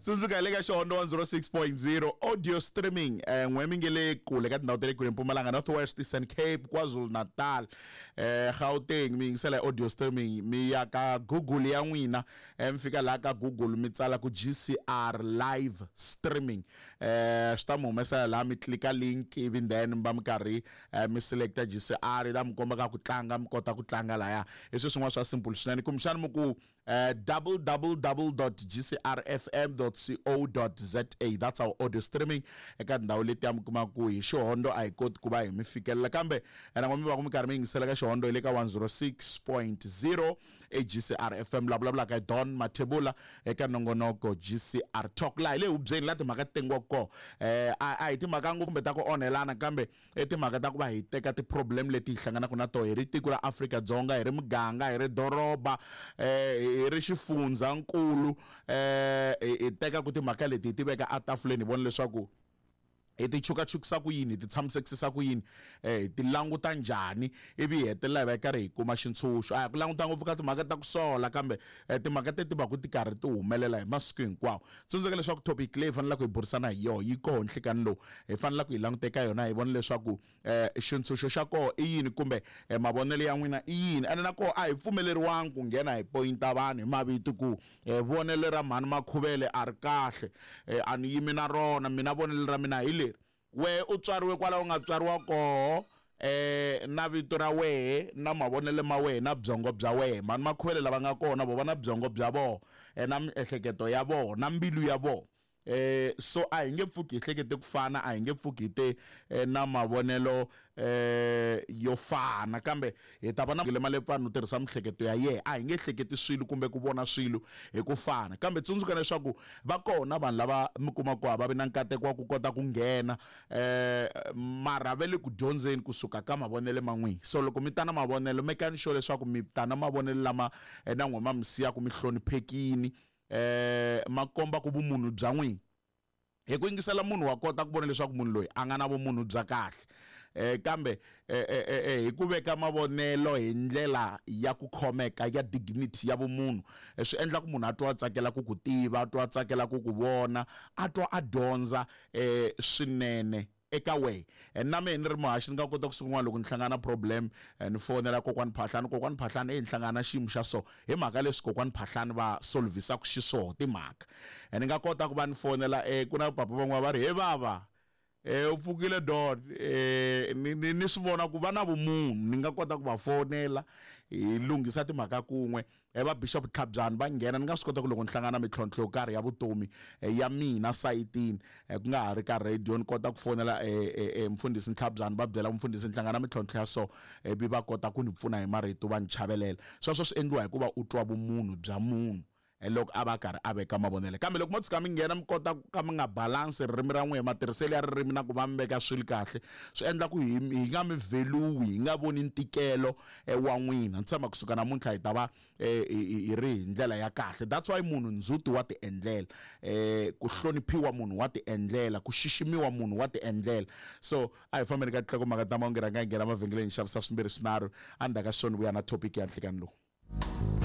Tsundzuka hi le ka Xihondo 106.0 audio streaming n'we mi nge le kule ka tindhawu ta le kule Mpumalanga, North West, Eastern Cape, KwaZulu Natal, Gauteng mi yingisela hi audio streaming mi ya ka Google ya n'wina mi fika laha ka Google mi tsala ku GCR live streaming swi ta mi humesela laha mi tlika link ivi then mi va mi karhi mi selecta GCR yi ta mi komba ka ku tlanga mi kota ku tlanga laya hi swi swin'wana swa simple swinene kumbexana mi ku www.gcrfm.co.za that's our audio streaming eka tindhawu letiya mi kuma ku hi xihondo a hi koti ku va hi mi fikelela kambe na mi va ku mi karhi mi yingisela ka xihondo hi le ka 106.0 eGCR FM la vulavulaka hi Don Mathebula eka nongonoko GCR Talk laha hi le hubyeni la timhaka ti tengiwaka kona a hi timhaka ngopfu kumbe ta ku onhelana kambe i timhaka ta ku va hi teka ti-problem leti hi hlanganaka na toho hi ri tiko ra Afrika-Dzonga hi ri muganga hi ri doroba hi ri xifundzankulu hi tekaku timhaka leti hi ti veka etafuleni hi vona leswaku hi ti chukachukisa ku yini hi ti tshamisekisisa ku yini hi ti languta njhani ivi hi hetelela hi va hi karhi hi kuma xintshunxo a hi ku languta ngopfu ka timhaka ta ku sola kambe timhaka teti va ku ti karhi ti humelela hi masiku hinkwawo tsundzuka leswaku topic leyi hi fanelaka hi burisana hi yona yi koho nhlikani lowu hi fanelaka hi languta eka yona hi vona leswaku xintshunxo xa koho i yini kumbe mavonelo ya n'wina i yini ene na koho a hi pfumeleriwangi ku nghena hi poyinta vanhu hi mavito ku vonelo ra mhani Makhuvele a ri kahle a ni yimi na rona mina vonelo ra mina hi leri wehe u tswariwe kwala u nga tswariwa koho na vito ra wehe na mavonelo ma wehe na byongo bya wehe mhani Makhuvele lava nga kona vo va na byongo bya vona na miehleketo ya vona na mbilu ya vona so a hi nge pfuki hi hlekete ku fana a hi nge pfuki hi te na mavonelo yo fana kambe hi ta va na Malepfani u tirhisa mihleketo ya yena a hi nge hleketi swilo kumbe ku vona swilo hi ku fana kambe tsundzuka leswaku va kona vanhu lava mi kuma ku a va vi na nkateko wa ku kota ku nghena mara va le ku dyondzeni kusuka ka mavonelo ma n'wina so loko mi ta na mavonelo mekani sure leswaku mi ta na mavonelo lama na n'wina ma mi siyaka mi hloniphekini ma komba ku vumunhu bya n'wina hi ku yingisela munhu wa kota ku vona leswaku munhu loyi a nga na vumunhu bya kahle kambe hi ku veka mavonelo hi ndlela ya ku khomeka ya dignity ya vumunhu swi endla ku munhu a twa a tsakela ku ku tiva a twa a tsakela ku ku vona a twa a dyondza swinene eka wehe and na mehe ni ri muhaxi ni nga kota ku siku rin'wana loko ni hlangana na problem ni fonela kokwani Phahlani kokwani Phahlani eyi ni hlangana na xiyimo xa so hi mhaka leswi kokwani Phahlani va solvhisaka xiswoho timhaka ni nga kota ku va ni fonela ku na papa van'wana va ri he vava u pfukile Don ni ni ni swi vona ku va na vumunhu ni nga kota ku va fonela hi lunghisa timhaka kun'we va Bishop Tlhabyani va nghena ni nga swi kota ku loko ni hlangana na mintlhontlho yo karhi ya vutomi ya mina sayitini ku nga ha ri ka radio ni kota ku fonela mfundhisi Ntlhabyani va byela mfundhisi ni hlangana na mintlhontlho ya so ivi va kota ku ni pfuna hi marito va ni chavelela sweswo swi endliwa hikuva u twa vumunhu bya munhu loko a va a karhi a veka mavonelo kambe loko mo tshuka mi nghena mi kota ku ka mi nga balance ririmi ra n'wina matirhiselo ya ririmi na ku va mi veka swilo kahle swi endla ku hi hi nga mi value hi nga voni ntikelo wa n'wina ni tshemba kusuka namuntlha hi ta va hi ri hi ndlela ya kahle that's why munhu ndzhuti wa ti endlela ku hloniphiwa munhu wa ti endlela ku xiximiwa munhu wa ti endlela so a hi fambeni ka tinhlokomhaka ta mahungu rhanga hi nghena mavhengeleni hi xavisa swimbirhi swinharhu endzhaku ka swona vuya na topic ya nhlikani lowu.